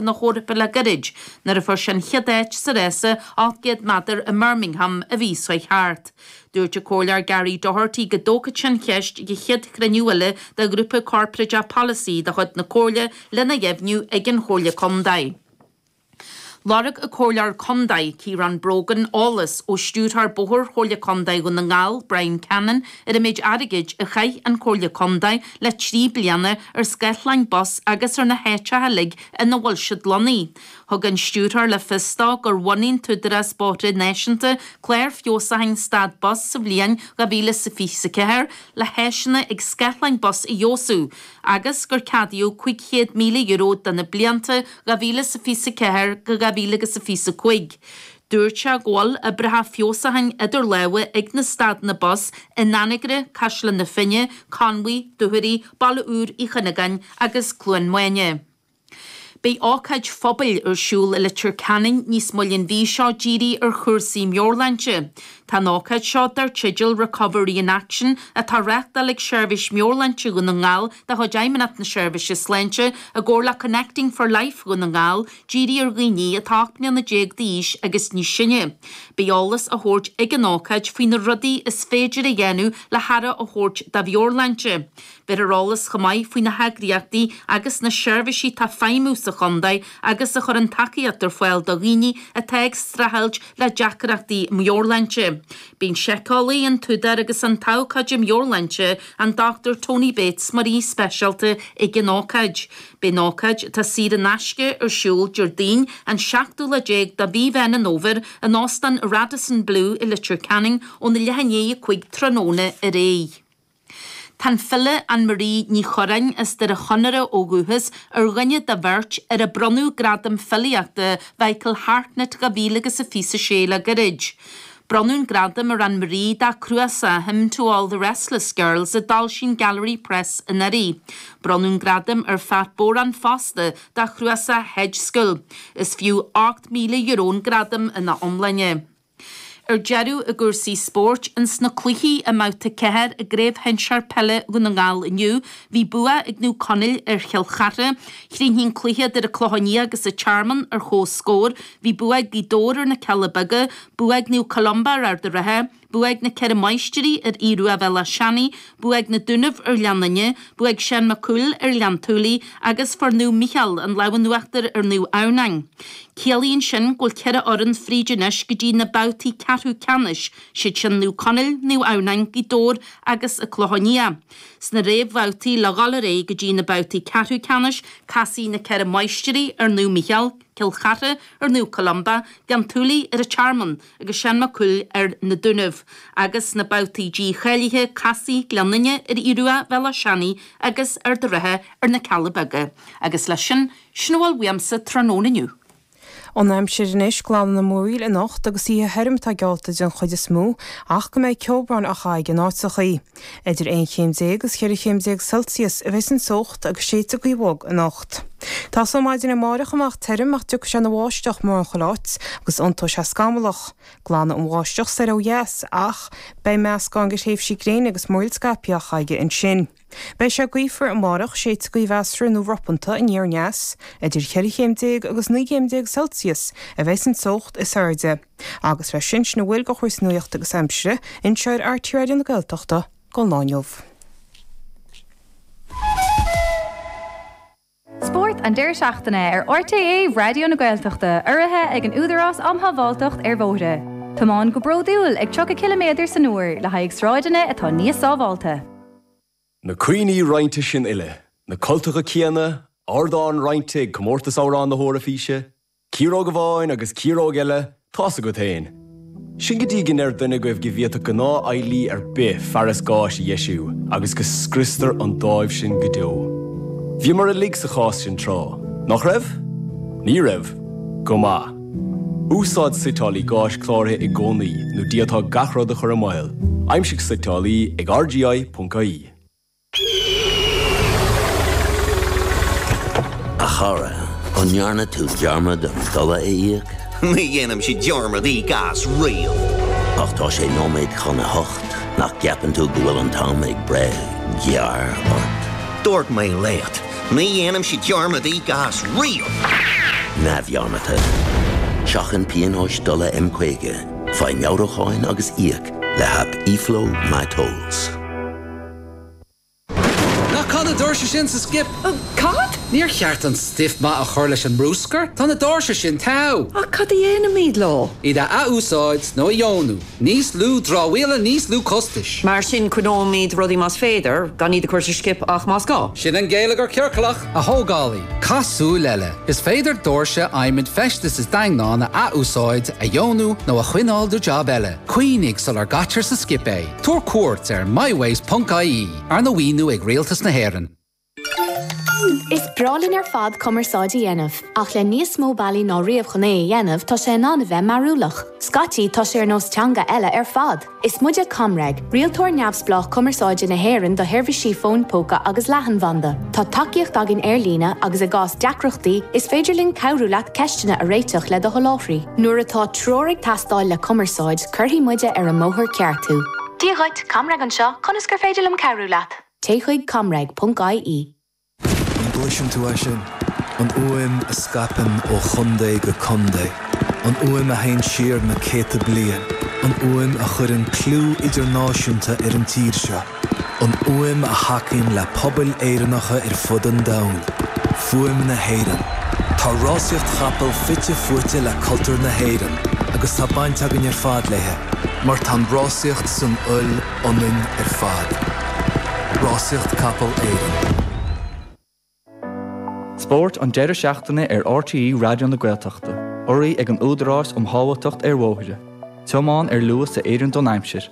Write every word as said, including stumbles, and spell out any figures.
na hEorpa le gairid, nuair a fuair sé an chéad áit sa rása ocht gcéad méadar i mBirmingham an mhí seo thart. Dúirt an Comhairleoir Gary Doherty go dtógfaidh sé an cheist ag an chéad chruinniú eile de ghrúpa corparáideach polasaí de chuid na Comhairle lena dheimhniú ag an Chomhairle Contae. Lorg an Comhairleoir Contae Ciarán Brogan eolas ó stiúrthóir bóthair Chomhairle Contae Dhún na nGall, Brian Cannon, ar an méid airgid a chaith an Chomhairle Contae le trí bliana ar scáthláin bus agus ar na háiteacha uilig ina bhfuil siad lonnaithe. Thug an stiúrthóir le fios dó gur bhunaigh an tÚdarás Bóithre Náisiúnta clár feabhsúcháin stad bus sa bhliain dhá mhíle is a fiche a ceathair le háiseanna ag scáthláin bus a fheabhsú agus gur ceadaíodh cúig chéad míle euro do na blianta dhá mhíle is a fiche a ceathair go dhá mhíle agus a fiche a cúig. Dúirt sé go bhfuil oibreacha feabhsúcháin idir lámha ag na stadanna bus in Anagaire, Caisleán na Finne, Conmhaigh, Dúchoraidh, Baile Úr Uí Chuinneagáin agus Cluain Maine. Beidh ócáid phobail ar siúl i Leitir Ceanainn níos moille an mhí seo dírithe ar chúrsaí meabhairshláinte. Tá an ócáid seo dar teideal Recovery in Action atá á reáchtáil ag Seirbhís Meabhairshláinte Dhún na nGall de chuid Fheidhmeannacht na Seirbhíse Sláinte i gcomhar le Connecting for Life Dhún na nGall dírithe ar dhaoine atá ocht mbliana déag d'aois agus níos sine. Beidh eolas á thabhairt ag an ócáid faoi na rudaí is féidir a dhéanamh le haire a thabhairt do mheabhairshláinte. Beidh ar eolas chomh maith faoi na heagraíochtaí agus na seirbhísí atá ag feidhmiú sa chontae agus a chuireann tacaíocht ar fáil do dhaoine atá ag streachailt le deacrachtaí meabhairshláinte. Beidh an síceolaí, an t-údar agus an t-abhcóide meabhairshláinte, an Dochtúir Tony Bates mar aoi speisialta ag an ócáid. Beidh an ócáid, atá saor in aisce, ar siúl Déardaoin an seachtú lá déag de mhí Mheán an Fhómhair in Óstán Radisson Blu i Leitir Ceanainn óna leath i ndiaidh a cúig tráthnóna ar aghaidh. Tá an file Anne Marie Ní Churráin as Doire Chonaire ó dhúchas ar dhuine de bheirt ar a bronnadh Gradam Filíochta Mhichael Hartnett dhá mhíle agus a fiche a sé le gairid. Bronnadh an gradam ar Anne Marie dá cnuasach Hymn to All the Restless Girls a d'fhoilsigh an Gallery Press anuraidh. Bronnadh an gradam ar Phat Boran fosta dá chnuasach Hedge School. Is fiú ocht míle euro an gradam ina iomláine. Ar deireadh i gcúrsaí spóirt, ins na cluichí i mbabhta ceathair i gCraobh Shinsir Peile Dhún na nGall inniu, bhí bua ag Naomh Conaill ar Chill Chartha. Chríochnaigh an cluiche idir an Clochán Liath agus an Tearmann ar comhscór. Bhí bua ag Gaoth Dobhair ar na Cealla Beaga, bua ag Naomh Columba ar Ard an Rátha, bua ag na Ceithre Máistrí ar Aodh Rua Bhéal Átha Seanaidh, bua ag na Dúnaibh ar Ghleann Fhinne, bua ag Seán Mac Cumhaill ar Ghleann tSúilí agus fuair Naomh Mícheál an lámh in uachtar ar Naomh Adhamhnáin. Ciallaíonn sin go bhfuil ceithre fhoireann fríd anois go dtí na babhtaí ceathrú ceannais, siad sin Naomh Conaill, Naomh Adhamhnáin, Gaoth Dobhair agus an Clochán Liath. Sna réamhbhabhtaí le dhul ar aghaidh go dtí na babhtaí ceathrú ceannais, casfaidh na Ceithre Máistrí ar Naomh Mícheál, Cill Chartha ar Naomh Columba, Gleann tSúilí ar an Tearmann agus Seán Mac Cumhaill ar na Dúnaibh. Agus sna babhtaí dícháilithe, casfaidh Gleann Fhinne ar Aodh Rua Bhéal Átha Seanaidh agus Ard an Rátha ar na Cealla Beaga. Agus leis sin, sin a bhfuil uaimse tráthnóna inniu. An aimsir anois, glanfaidh na múraíl anocht agus oíche thirim atá geallta den chuid is mó ach go mbeidh ceobhrán á chaitheamh in áiteachaí. Idir aon chéim déag agus cheithre chéim déag Celsius a bheas an teocht agus séidfidh gaoth bhog anocht. Tosóidh maidin amárach amach tirim ach tiocfaidh sé ina bháisteach mórán chuile áit agus iontóidh sé scamallach. Glanfaidh an bháisteach soir ó dheas ach beidh meascán de thréimhsí gréine agus múraíl scaipthe á chaitheamh ansin. Beidh sé gaofar amárach, séidfidh gaoth mheasartha nó ropanta aniar aneas. Idir cheithre chéim déag agus naoi gcéim déag Celsius a bheas an teocht is airde. Agus leis sin, sin a bhfuil de chúrsaí nuachta agus aimsire anseo ar RTÉ Raidió na Gaeltachta don lá inniu. Spórt an deireadh seachtaine ar RTÉ Raidió na Gaeltachta, urraithe ag an Údarás um Shábháilteacht ar Bhóithre. Tiomáin go bródúil ag tríocha ciliméadar san uair le haghaidh sráideanna atá níos sábháilte. Na cuimhní roinnte sin uile, na cultacha céanna, ardán roinnte ag Comórtas Amhrán na hEoraifíse, ciaróg amháin agus ciaróg eile, tá's agat féin. Sin go dtí go ndeir duine agaibh go bhféadfadh gnáthfheighlí ar bith fearas gáis a dheisiú agus go scriostar an dáimh sin go deo. Bhíomar uilig sa chás sin tráth, nach raibh? Ní raibh? Go maith. Úsáid suiteálaí gáis cláraithe i gcónaí nó d'fhéadfá gach rud a chur i mbaol. Aimsigh suiteálaí ag rgi.ie. A chara, an ndearna tú dearmad an dola a íoc? Ní dhéanaimse dearmad íoc as riamh. Ach tá sé nóiméad chun a hocht, nach gceapann tú go bhfuil an t-am ag breith gearr ort? Dúirt mé leat, ní dhéanaimse dearmad íoc as riamh! Neamhdhearmadta. Seachain pionóis dola M caoga, faigh meabhrúcháin agus íoc le haip eFlow MyTolls. Ná caith na doirse sin sa skip. Cad? Níor cheart an stuif maith a chur leis an mbruscar, Tá na doirse sin togha. Ach cad a dhéanfaimid leo? Iad a athúsáid nó a dheonú, Níos lú dramhaíola níos lú costais. Mar sin coinneoimid rudaí más féidir gan iad a chur sa skip ach más gá. Sin an geilleagar ciorclach a thógálaí, Caith súil eile. Is féidir doirse adhmaid feistis is daingneán a athúsáid a dheonú nó a choinneáil do job eile. Cuimhnigh sular gcaitear sa skip é. Tabhair cuairt ar mywaste.ie arna mhaoiniú ag Rialtas na hÉireann. Is breá linn ar fad cumarsáid a dhéanamh, ach le níos mó bealaí ná riamh chun é a dhéanamh tá sé in ann a bheith mearúlach. Scaití tá sé ar nós teanga eile ar fad. Is muide ComReg, rialtóir neamhspleách cumarsáide na hÉireann do sheirbhísí fón póca agus leathanbhanda. Tá tacaíocht againn ar líne agus i gcás deacrachtaí is féidir linn cabhrú leat ceisteanna a réiteach le do sholáthraí. Nuair atá treoir ag teastáil le cumarsáid, cuirfidh muide ar an mbóthar ceart thú. Dia dhuit, ComReg anseo, conas gur féidir liom cabhrú leat. Téigh chuig comreg.ie. An gcloiseann tú é sin, an fhuaim a scaipeann ó chontae go contae, an fhuaim a théann siar na céadta bliain, an fhuaim a chuireann clú idirnáisiúnta ar an tír seo, an fhuaim a thacaíonn le pobail Éireannacha ar fud an domhain, Fuaim na hÉireann. Tá rásaíocht chapall fite fuaite le cultúr na hÉireann, agus tá baint againn ar fad léi, mar tá an rásaíocht san fhuil ionainn ar fad. Rásaíocht Capall Éireann. Spórt an deireadh seachtaine ar RTÉ Raidió na Gaeltachta, urraithe ag an Údarás um Shábháilteacht ar Bhóithre. Tiomáin ar luas a oireann don aimsir.